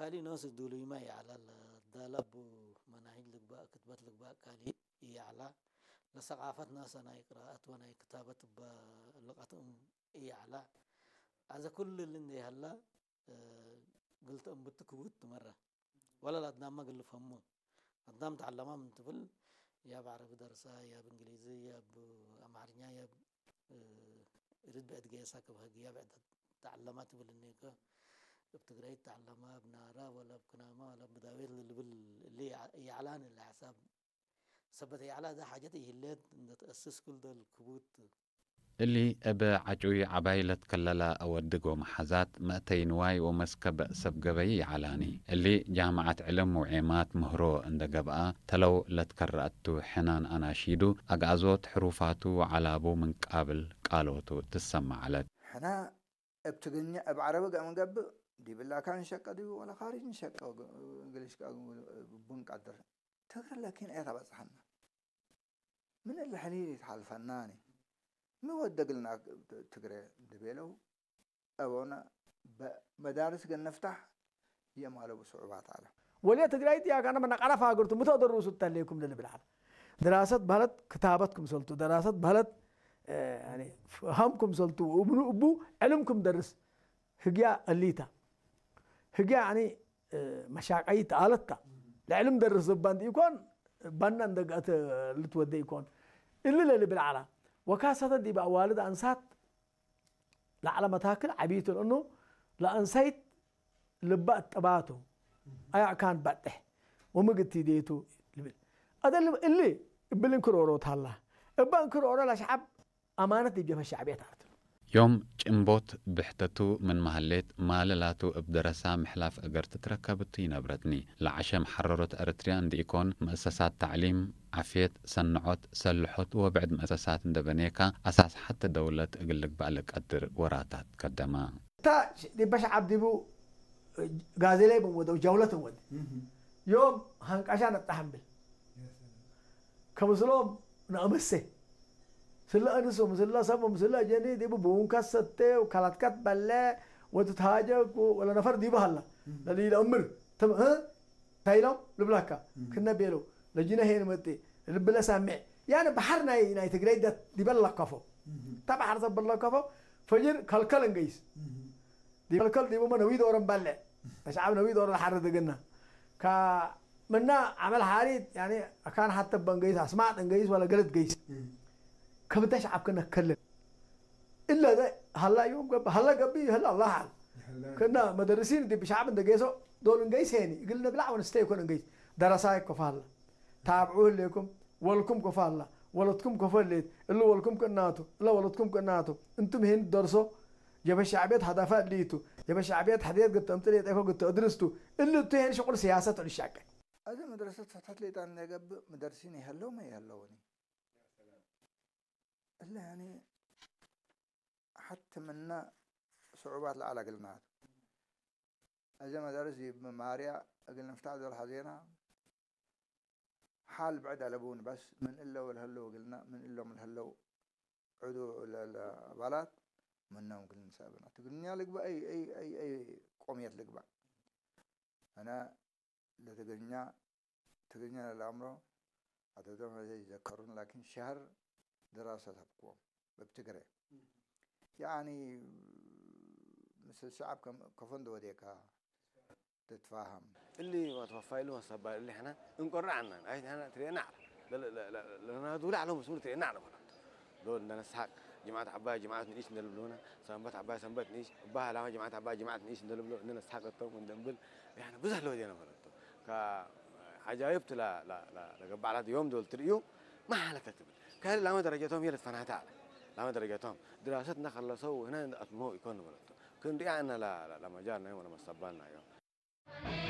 ካልእ ነውስ ዱሉይማ ይዓላል ዳላቡ መናሂጅ ልግባእ ክትበት ልግባእ ካልእ ይዓላ ለሰቃፈት ናሰ ናይ ቅራኣት ወናይ ክታበት በልቀትም ይዓላ ኣዘ ኩሉ ልንደ ይሃላ ግልተ እምብት ክውት ትመራ ወላ ላድናማ ግልፈሙ ኣዳም ተዓለማ ምን ትብል ያብ ዓረቢ ደርሳ ያብ እንግሊዝ ያብ ኣማርኛ ያብ ርድ ብዕድ ገየሳ ክብ ህግ ያብ ዕድ ተዓለማ ትብል እኔከ እብ ትግራይ ተዓለማ እብ ናራ ወላ እብ ክናማ ወላ እብ ዳዌት ልብል እሊ ይዓላን እሊ ሓሳብ ሰበት ይዓላ እዛ ሓጀት ይህለት እንደ ተአስስ ኩል ደል ክቡት እሊ እብ ዓጩይ ዓባይ ለትከለላ አወድግ ወመሓዛት መእተይ ንዋይ ወመስከበእ ሰብ ገበይ ይዓላኒ። እሊ ጃምዓት ዕልም ወዔማት ምህሮ እንደ ገብአ ተለው ለትከረአቱ ሕናን አናሺዱ አግአዞት ሕሩፋቱ ወዓላቡ ምን ቃብል ቃሎቱ ትሰማዕ ዐለት። ሕና እብ ትግርኛ እብ ዐረቢ ገ ምንገብእ ዲብላ ካን ሸቀ ዲቡ ወለ ካሪጅ ንሸቀ ግልሽ ቡን ቀድር ትግረ ለኪን ኤታ በጽሐና ምን እለ ሕሊል ይትሓልፈናኒ ሚ ወደግልና ትግረ ድቤለው አቦነ መዳርስ ገ ንፍታሕ የማለቡ ስዑባት አለ። ወልየ ትግራይ ዲያ ካነ መናቃላ ፋግርቱ ምተደሩሱ ተሌኩም ለልብል አለ ድራሰት ባህለት ክታበት ክምሰልቱ ደራሰት ባህለት ፈሃም ክምሰልቱ እብኑ እቡ ዕልም ክምደርስ ህግያ እሊታ ህግያ ያኒ መሻቀይት አለታ ለዕልም ደርስ ዘባ እንዲ ኢኮን ባና እንደጋተ ልትወደ ኢኮን እሊ ለልብል ዓላ ወካሰተን ዲብ አዋልድ አንሳት ለዓለ መታክል ዓብይቱ ለእኑ ለአንሳይት ልባ እጠባቱ አያእካን ባጥሕ ወምግቲ ዴቱ ልብል አደ እሊ እብል እንክሮሮ ታላ እባ እንክሮሮ ለሸዓብ አማነት ዲብ ጀብሀት ሸዕብየት አርትሉ። ዮም ጭንቦት ብሕተቱ ምን መሀሌት ማለ ላቱ እብ ደረሳ ምሕላፍ እገር ትትረከብ እቱ ይነብረትኒ። ለዐሸ መሐረሮት ኤረትርያ እንድኢኮን መእሰሳት ተዕሊም፣ ዓፍየት፣ ሰንዖት፣ ሰልሖት ወብዕድ መእሰሳት እንደ በኔካ አሳስ ሐተ ደውለት እግል ልግባእ ለቀድር ወራታት ከደማ። እታ ዲበ ሸዓብ ዲቡ ጋዜለይ ብንወደው ጀውለት እንወድ ዮም ሀንቃሻ ነጣሕ እንብል ከምስሎም ነእመሴ ስለ እንሱ ምስለ ሰሙ ምስለ ጀኒ ዲቡ ብውንከት ሰቴ ካላትከት በለ ወትትሃጀ ወለ ነፈር ዲቡ ሀላ ለሊለ እምር ትም እ ታይሎም ልብላካ ክነ ቤሎ ለጂነ ሄን መጤ ልብለ ሳሚዕ ያነ ባሕር ናይ ናይ ትግራይ ዲበ ለከፎ እታ ባሕር ሰብ ለከፎ ፈጅር ከልከል እንገይስ ዲበልከል ዲቡመ ነዊ ዶረን ባልዕ ተሽዓብ ነዊ ዶረ ለሓረ ደገና ካ ምና ዓመል ሓሪት ያኒ አካን ሓተ በንገይስ አስማጥ እንገይስ ወለ ገለት ገይስ ከብዳ ሸዓብ ክነ ከልን እለ ሀላ ዮም ገብ ሀላ ገብ ይህል አላህ አል ክና መደርሲን ዲብ ሸዓብ እንደ ገይሶ ዶል እንገይስ ሄኒ እግል ነብላዕ ወንስተ ይኮን እንገይስ ደረሳ ይኮፋ ሀላ ታብዑ ህሌኩም ወልኩም ኮፎ አላ ወለትኩም ኮፎ እሌት እሊ ወልኩም ክእናቱ እለ ወለትኩም ክእናቱ እንቱም ሄን ደርሶ ጀበ ሸዕብየት ሀዳፋ እሊ ቱ ጀበ ሸዕብየት ሕድየት ግተእምጥል የጤኮ ግተእድርስ ቱ እሊ እቱ ሄን ሽቁል ስያሰት ዕሉ ሻቀ። አዚ መድረሰት ፈትሐት ሌጣን ነገብእ ምደርሲን ይሀለው መ ይሀለውኒ እለ ያኒ ሐቲ ምነ ስዑባት ለዐለ እግልናቱ። አዜ መዳርስ ዲብ ማርያ እግል ንፍታሕ ዶል ሐዜና፣ ሐል ብዕድ አለቡን በስ ምን እለ ወለሀለው እግልና ምን እሎም ለሀለው ዕዱ ለአባላት ምኖም እግል ንሰአብና። ትግርኛ ልግባእ አይ አይ አይ አይ ቆምየት ልግባእ። አነ ለትግርኛ ትግርኛ ለለአምሮ አተቶም ሀዘ ይዘከሩን ላኪን ሸሀር ድራሰት ሀብክዎም እብ ትግረ ያኒ ምስል ሸዐብ ከፎ እንደ ወዴካ ትትፋሀም። እሊ ወትወፋይሉ ወሰባል እሊ ሕነ እንቆርዕ አናን አይ ሕነ ትሬና አለ ለናዱ ላዕሎ ምስሉ ትሬና አለ በለቱ ሎ እንደ ነስሐቅ ጅምዓት ዓባይ ጅምዓት ንኢሽ እንደልብሉና ሰንበት ዓባይ ሰንበት ንኢሽ እባ ላማ ጅምዓት ዓባይ ጅምዓት ንኢሽ እንደልብሎ እንደ ነስሐቅ እቶም እንደንብል ያኒ ብዙሕ ለወዴና በለቱ። ከዓጃይብት ለገባዕላት ዮም ዶል ትርእዩ ማሓለከ ትብል ከህል ላመ ደረጀቶም የለት ፈናታ አለ ላመ ደረጀቶም ድራሰት እና ከለሰው ህነ አትሞ ይኮን በለቶ ክንድያ እና ለመጃር ናይ ወለመሰባል ናዮ።